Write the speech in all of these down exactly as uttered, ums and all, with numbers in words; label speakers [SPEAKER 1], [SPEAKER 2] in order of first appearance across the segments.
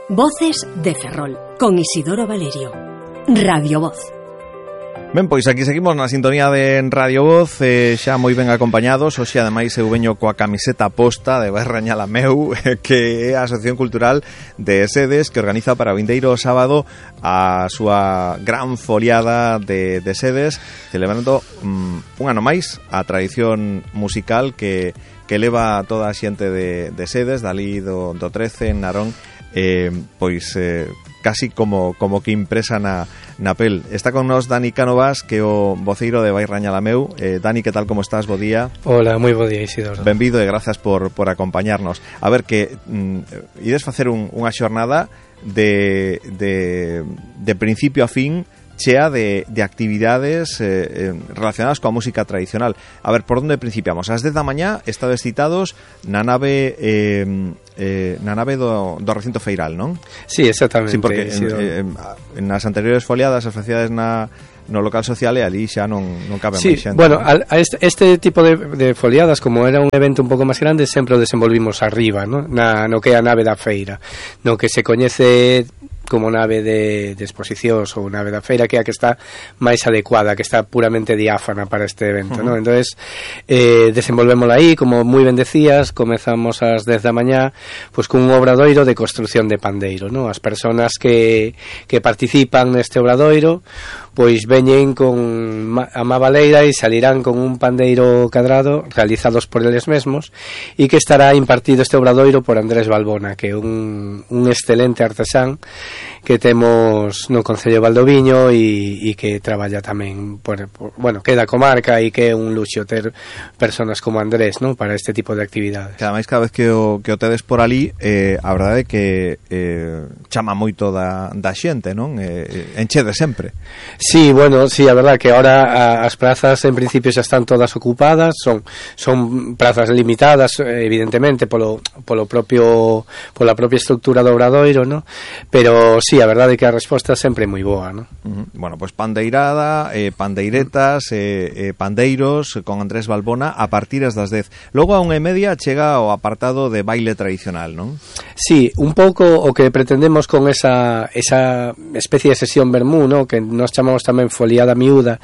[SPEAKER 1] Voces de Ferrol, con Isidoro Valerio. Radio Voz.
[SPEAKER 2] Ben, pois aquí seguimos na sintonía de Radio Voz, eh, xa moi ben acompañados. Hoxe, ademais, eu veño coa camiseta posta de Vai Rañala Meu, que é a Asociación Cultural de Sedes, que organiza para o vindeiro sábado a súa gran foliada de, de Sedes, celebrando um, un ano máis a tradición musical que, que leva toda a xente de, de Sedes, dali do, do trece, en Narón, eh, pois... Eh, casi como, como que impresa na, na pel. Está con nos Dani Cánovas, que é o voceiro de Vai Rañala Meu. Eh, Dani, que tal, como estás? Bo día.
[SPEAKER 3] Hola, moi bo día, Isidoro.
[SPEAKER 2] Benvido e grazas por, por acompañarnos. A ver, que mm, ides facer un, unha xornada de, de, de principio a fin, chea de, de actividades eh, relacionadas coa música tradicional. A ver, por onde principiamos? Ás dez da mañá estades citados na nave eh, eh, na nave do, do recinto feiral, non?
[SPEAKER 3] Sí, exactamente.
[SPEAKER 2] Sí, porque en, eh, nas anteriores foliadas as facilidades na no local social e ali xa non, non cabe
[SPEAKER 3] sí,
[SPEAKER 2] máis xente.
[SPEAKER 3] Bueno, a, a este, este tipo de, de foliadas, como era un evento un pouco máis grande, sempre o desenvolvimos arriba, ¿no? Na, no que é a nave da feira, no que se coñece como nave de, de exposicións ou nave da feira, que é a que está máis adecuada, que está puramente diáfana para este evento, uh-huh. ¿no? Entonces, eh, desenvolvémola aí, como moi ben decías, comezamos ás dez da mañá, pois cun obradoiro de construción de pandeiro, ¿no? As persoas que, que participan neste obradoiro, pois veñen con a má baleira e salirán con un pandeiro cadrado realizados por eles mesmos, e que estará impartido este obradoiro por Andrés Balbona, que é un, un excelente artesán que temos no Concello de Valdoviño e, e que traballa tamén por, por, bueno, que é da comarca, e que é un luxo ter personas como Andrés, ¿no? Para este tipo de actividades.
[SPEAKER 2] Que ademais, cada vez que o, que o tedes por ali, eh, a verdade é que eh, chama moito da, da xente, non? Eh, enchede sempre.
[SPEAKER 3] Sí, bueno, sí, a verdade que ahora as prazas en principio xa están todas ocupadas, son son prazas limitadas, evidentemente polo polo propio pola propia estructura do obradoiro, ¿no? Pero sí, a verdade é que a resposta sempre é moi boa, ¿no?
[SPEAKER 2] Uh-huh. Bueno, pois pues pandeirada, eh, pandeiretas, eh, eh, pandeiros con Andrés Balbona a partir das dez. Logo a unha e media chega o apartado de baile tradicional, non?
[SPEAKER 3] Sí, un pouco o que pretendemos con esa esa especie de sesión vermú, ¿no? Que nos chamamos tamén foliada miúda,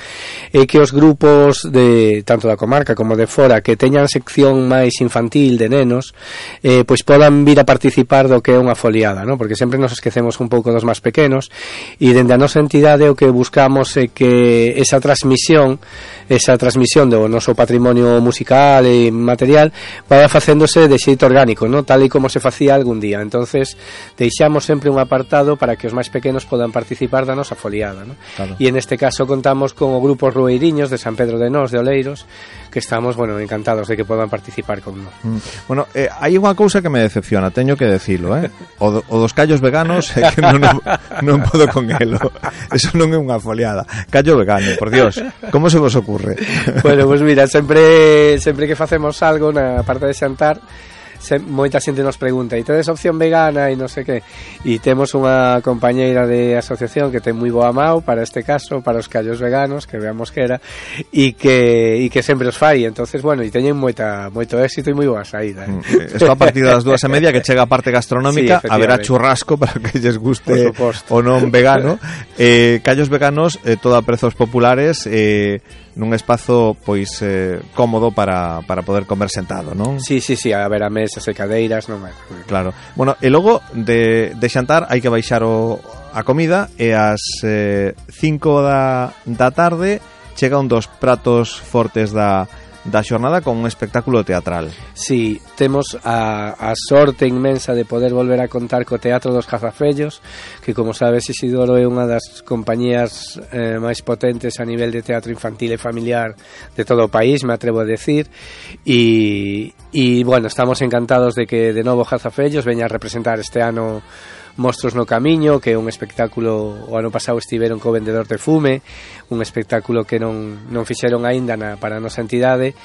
[SPEAKER 3] é que os grupos de tanto da comarca como de fora que teñan sección máis infantil de nenos, eh, pois podan vir a participar do que é unha foliada, ¿no? Porque sempre nos esquecemos un pouco dos máis pequenos, e dende a nosa entidade o que buscamos é que esa transmisión esa transmisión do noso patrimonio musical e material vaya facéndose de xeito orgánico, ¿no? Tal e como se facía algún día. Entonces deixamos sempre un apartado para que os máis pequenos podan participar da nosa foliada, ¿no?
[SPEAKER 2] Claro.
[SPEAKER 3] E en este caso contamos con o grupo Rueiriños de San Pedro de Nós, de Oleiros, que estamos, bueno, encantados de que podan participar con nós.
[SPEAKER 2] Mm. Bueno, eh, hai unha cousa que me decepciona, teño que decilo, eh? O, do, o dos callos veganos é que non, non, non podo con elo. Eso non é unha foliada. Callo vegano, por Dios. Como se vos ocurre?
[SPEAKER 3] Bueno, pues mira, sempre sempre que facemos algo na parte de xantar, se, moita xente nos pregunta, e tedes opción vegana e non sei que, e temos unha compañeira de asociación que ten moi boa mau para este caso, para os callos veganos, que veamos que era, e que, e que sempre os fai. Entonces, bueno, e teñen moita, moito éxito e moi boa saída, eh?
[SPEAKER 2] Mm, Esto a partir das dúas e media, que chega a parte gastronómica, sí, haberá churrasco para que lles guste o non vegano. eh, callos veganos, eh, todo a prezos populares, eh, nun espazo pois eh, cómodo para, para poder comer sentado, non?
[SPEAKER 3] Sí, sí, sí, a ver, a mesas e cadeiras, non é?
[SPEAKER 2] Claro. Bueno, e logo de, de xantar hai que baixar o, a comida, e ás eh, cinco da, da tarde chega un dos pratos fortes da da xornada con un espectáculo teatral.
[SPEAKER 3] Sí, temos a, a sorte inmensa de poder volver a contar co Teatro dos Gazafellos, que, como sabes, Isidoro, é unha das compañías eh, máis potentes a nivel de teatro infantil e familiar de todo o país, me atrevo a decir, e, e bueno, estamos encantados de que de novo Gazafellos veña a representar este ano Mostros no Camiño, que é un espectáculo, o ano pasado estiveron co Vendedor de Fume, un espectáculo que non, non fixeron aínda na, para a nosa entidade,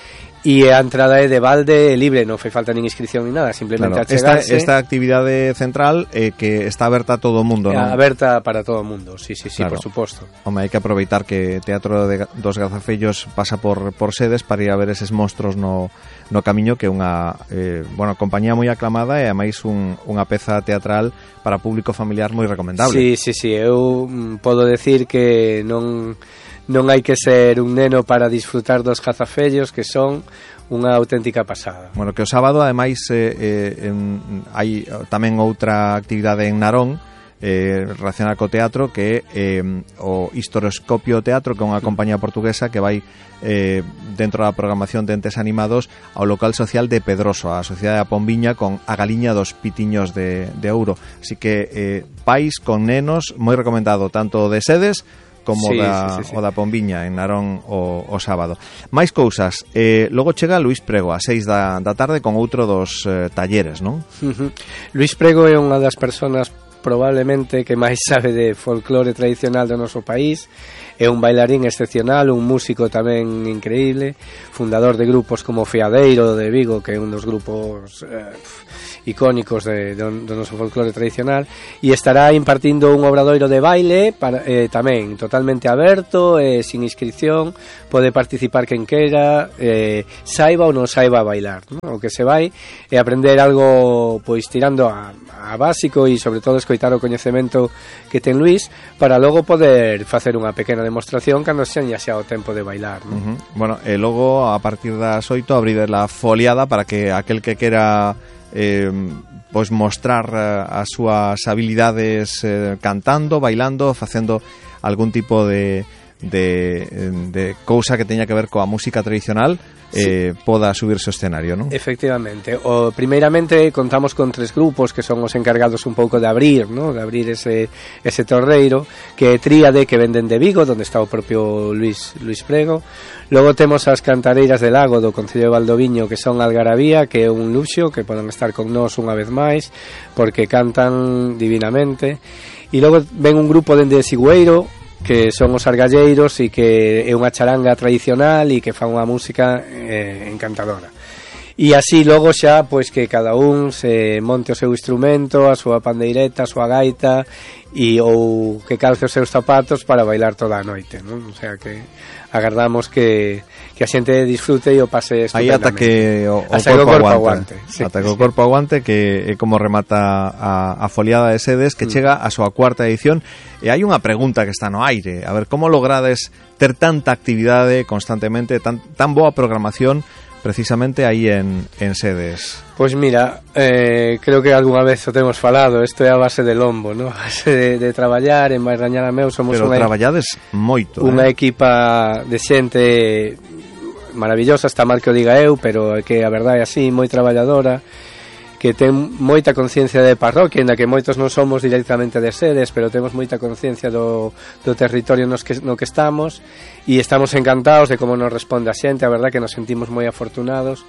[SPEAKER 3] e a entrada é de balde e libre, non fai falta nin inscripción ni nada, simplemente
[SPEAKER 2] claro,
[SPEAKER 3] achegarse.
[SPEAKER 2] Esta, esta actividade central eh, que está aberta a todo o mundo, non?
[SPEAKER 3] Aberta para todo o mundo, sí, sí, sí,
[SPEAKER 2] claro.
[SPEAKER 3] Por suposto.
[SPEAKER 2] Home, hai que aproveitar que Teatro de, dos Gazafellos pasa por, por Sedes para ir a ver eses monstros no, no Camiño, que é unha eh, bueno, compañía moi aclamada e ademais un, unha peza teatral para público familiar moi recomendable.
[SPEAKER 3] Sí, sí, sí, eu podo decir que non non hai que ser un neno para disfrutar dos cazafellos, que son unha auténtica pasada.
[SPEAKER 2] Bueno, que o sábado ademais eh, eh, en, hai tamén outra actividade en Narón eh, relacionada co teatro, que é eh, o Historioscopio Teatro, que é unha compañía portuguesa que vai eh, dentro da programación de entes animados ao local social de Pedroso, a Sociedade da Pombiña, con a Galiña dos Pitiños de, de Ouro. Así que eh, pais con nenos, moi recomendado, tanto de Sedes como sí, da, sí, sí, sí. o da Pombiña en Narón o, o sábado. Máis cousas, eh, logo chega Luís Prego a seis da, da tarde con outro dos eh, talleres, non?
[SPEAKER 3] Uh-huh. Luís Prego é unha das persoas probablemente que máis sabe de folclore tradicional do noso país. É un bailarín excepcional, un músico tamén increíble, fundador de grupos como Feadeiro de Vigo, que é un dos grupos eh, icónicos de, do, do noso folclore tradicional, e estará impartindo un obradoiro de baile para, eh, tamén totalmente aberto, eh, sin inscripción, pode participar quen queira, eh, saiba ou non saiba bailar, ¿no? O que se vai é aprender algo pois tirando a, a básico e sobre todo escoitar o coñecemento que ten Luís para logo poder facer unha pequena demostración cando seña xa o tempo de bailar, ¿no?
[SPEAKER 2] Uh-huh. Bueno, e logo a partir das oito abrir a foliada para que aquel que quera eh, pois mostrar uh, as súas habilidades eh, cantando, bailando, facendo algún tipo de de, de cousa que teña que ver coa música tradicional, eh, sí. poda subirse ao escenario, non?
[SPEAKER 3] Efectivamente. O, primeiramente contamos con tres grupos que son os encargados un pouco de abrir, ¿no? De abrir ese, ese torreiro, que é Tríade, que venden de Vigo, donde está o propio Luís, Luís Prego. Logo temos as Cantareiras del Lago do Concello de Valdoviño, que son Algarabía, que é un luxo, que poden estar con nós unha vez máis, porque cantan divinamente. E logo ven un grupo dende Sigüeiro, que son os argalleiros e que é unha charanga tradicional e que fan unha música eh, encantadora. E así logo xa, pois que cada un se monte o seu instrumento, a súa pandeireta, a súa gaita e ou que calce os seus zapatos para bailar toda a noite, non? O sea que agardamos que, que a xente disfrute e o pase estupendamente.
[SPEAKER 2] Aí ata que o, o
[SPEAKER 3] ata
[SPEAKER 2] corpo,
[SPEAKER 3] corpo
[SPEAKER 2] aguante,
[SPEAKER 3] aguante. Sí,
[SPEAKER 2] ata que o
[SPEAKER 3] sí.
[SPEAKER 2] corpo aguante, que é como remata a, a foliada de Sedes, que mm. chega a súa cuarta edición. E hai unha pregunta que está no aire, a ver, como logrades ter tanta actividade constantemente, tan, tan boa programación precisamente aí en, en Sedes?
[SPEAKER 3] Pois mira, eh, creo que algunha vez o temos falado, isto é a base de lombo, ¿no? A base de, de traballar, en Bairrañala Meu somos
[SPEAKER 2] Pero
[SPEAKER 3] unha,
[SPEAKER 2] traballades moito,
[SPEAKER 3] unha
[SPEAKER 2] eh?
[SPEAKER 3] equipa de xente maravillosa, está mal que o diga eu, pero é que a verdade é así, moi traballadora, que ten moita conciencia de parroquia, ainda que moitos non somos directamente de Sedes, pero temos moita conciencia do, do territorio nos que, no que estamos, e estamos encantados de como nos responde a xente, a verdade que nos sentimos moi afortunados.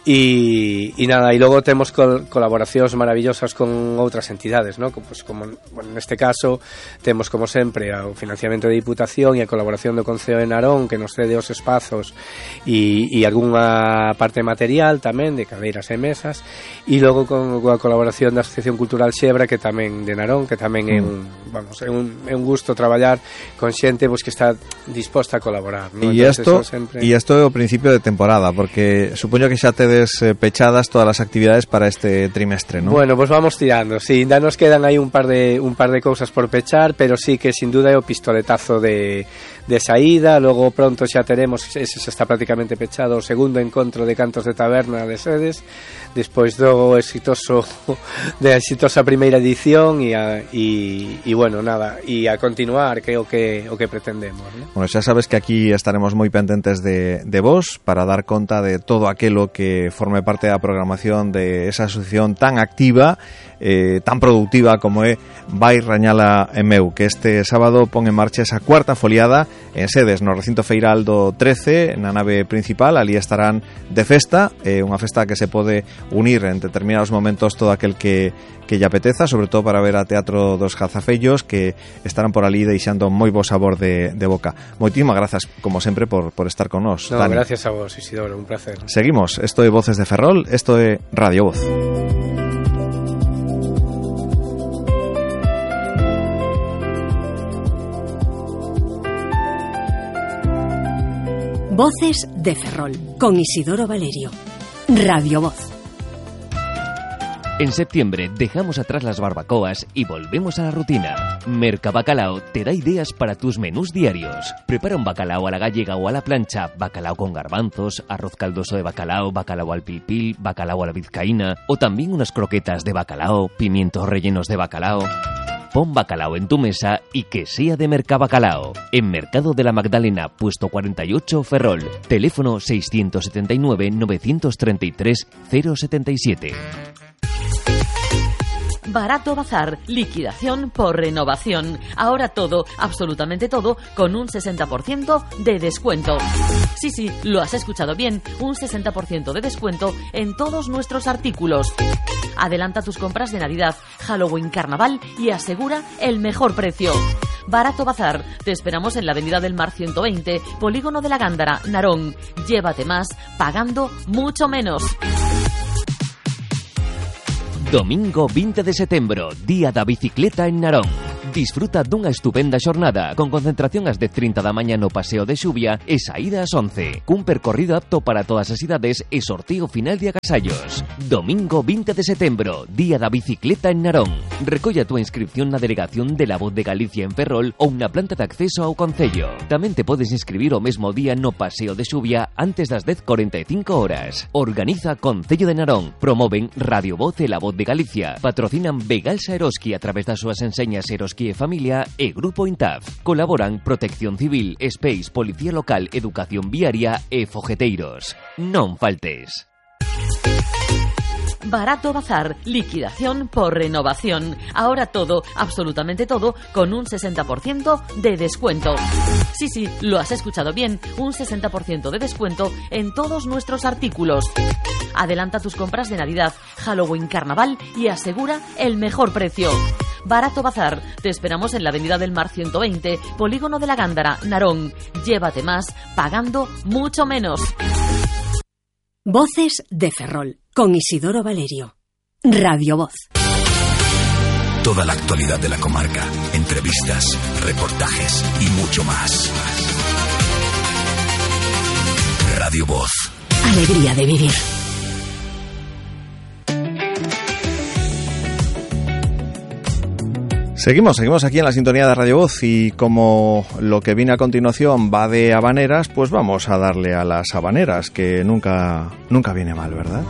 [SPEAKER 3] E, e nada, e logo temos col, colaboracións maravillosas con outras entidades, ¿no? Pues como bueno, neste caso temos como sempre o financiamento de Diputación e a colaboración do Concello de Narón, que nos cede os espazos e, e algunha parte material tamén de cadeiras e mesas, e logo con, con a colaboración da Asociación Cultural Xebra, que tamén de Narón, que tamén é un, vamos, é un, é un gusto traballar con xente pues, que está disposta a colaborar, ¿no?
[SPEAKER 2] E isto sempre... é o principio de temporada, porque supoño que xa tedes pechadas todas as actividades para este trimestre, ¿no?
[SPEAKER 3] Bueno, pues vamos tirando. Sí, ainda nos quedan aí un par de un par de cousas por pechar, pero sí que sin duda é o pistoletazo de de saída. Logo pronto xa teremos, ese xa está prácticamente pechado, o segundo encontro de cantos de taberna de Sedes, despois do exitoso de exitosa primeira edición e a, e, e bueno, nada, e a continuar, que é o que o que pretendemos, ¿no?
[SPEAKER 2] Bueno, xa sabes que aquí estaremos moi pendentes de de vos para dar conta de todo aquelo que forme parte da programación de esa asociación tan activa, eh, tan productiva como é Bairrañala Meu, que este sábado pon en marcha esa cuarta foliada en Sedes, no recinto feiral do trece, na nave principal. Ali estarán de festa, eh, unha festa que se pode unir en determinados momentos todo aquel que que lle apeteza, sobre todo para ver a Teatro dos Jazafellos, que estarán por ali deixando moi bo sabor de, de boca. Moitísimas grazas, como sempre, por, por estar con nós.
[SPEAKER 3] No, gracias a vos, Isidoro, un placer.
[SPEAKER 2] Seguimos, esto é Voces de Ferrol, esto é Radio Voz.
[SPEAKER 1] Voces de Ferrol, con Isidoro Valerio. Radio Voz.
[SPEAKER 4] En septiembre dejamos atrás las barbacoas y volvemos a la rutina. Mercabacalao te da ideas para tus menús diarios. Prepara un bacalao a la gallega o a la plancha, bacalao con garbanzos, arroz caldoso de bacalao, bacalao al pilpil, bacalao a la vizcaína o también unas croquetas de bacalao, pimientos rellenos de bacalao. Pon bacalao en tu mesa y que sea de Mercabacalao. En Mercado de la Magdalena, puesto cuarenta y ocho, Ferrol. Teléfono seiscientos setenta y nueve, novecientos treinta y tres, cero setenta y siete.
[SPEAKER 5] Barato Bazar, liquidación por renovación. Ahora todo, absolutamente todo, con un sesenta por ciento de descuento. Sí, sí, lo has escuchado bien, un sesenta por ciento de descuento en todos nuestros artículos. Adelanta tus compras de Navidad, Halloween, Carnaval y asegura el mejor precio. Barato Bazar, te esperamos en la Avenida del Mar ciento veinte, Polígono de la Gándara, Narón. Llévate más, pagando mucho menos.
[SPEAKER 4] Domingo veinte de setembro, Día da Bicicleta en Narón. Disfruta dunha estupenda xornada con concentración ás dez e trinta da mañá no Paseo de Xubia e saída ás once. Cun percorrido apto para todas as idades e sorteo final de agasallos. Domingo veinte de setembro, Día da Bicicleta en Narón. Recolla a túa inscripción na delegación de La Voz de Galicia en Ferrol ou na planta de acceso ao concello. Tamén te podes inscribir o mesmo día no Paseo de Xubia antes das dez e cuarenta e cinco horas. Organiza Concello de Narón. Promoven Radio Voz e La Voz de Galicia. Patrocinan Begalsa Eroski a través das súas enseñas Eroski e Familia e Grupo Intaf. Colaboran Protección Civil, Space, Policía Local, Educación Viaria e Fogeteiros. Non faltes.
[SPEAKER 5] Barato Bazar, liquidación por renovación. Ahora todo, absolutamente todo, con un sesenta por ciento de descuento. Sí, sí, lo has escuchado bien, un sesenta por ciento de descuento en todos nuestros artículos. Adelanta tus compras de Navidad, Halloween, Carnaval y asegura el mejor precio. Barato Bazar, te esperamos en la Avenida del Mar ciento veinte, Polígono de la Gándara, Narón. Llévate más, pagando mucho menos.
[SPEAKER 1] Voces de Ferrol, con Isidoro Valerio. Radio Voz.
[SPEAKER 6] Toda la actualidad de la comarca, entrevistas, reportajes y mucho más. Radio Voz.
[SPEAKER 1] Alegría de vivir.
[SPEAKER 2] Seguimos, seguimos aquí en la sintonía de Radio Voz y como lo que viene a continuación va de habaneras, pues vamos a darle a las habaneras, que nunca, nunca viene mal, ¿verdad?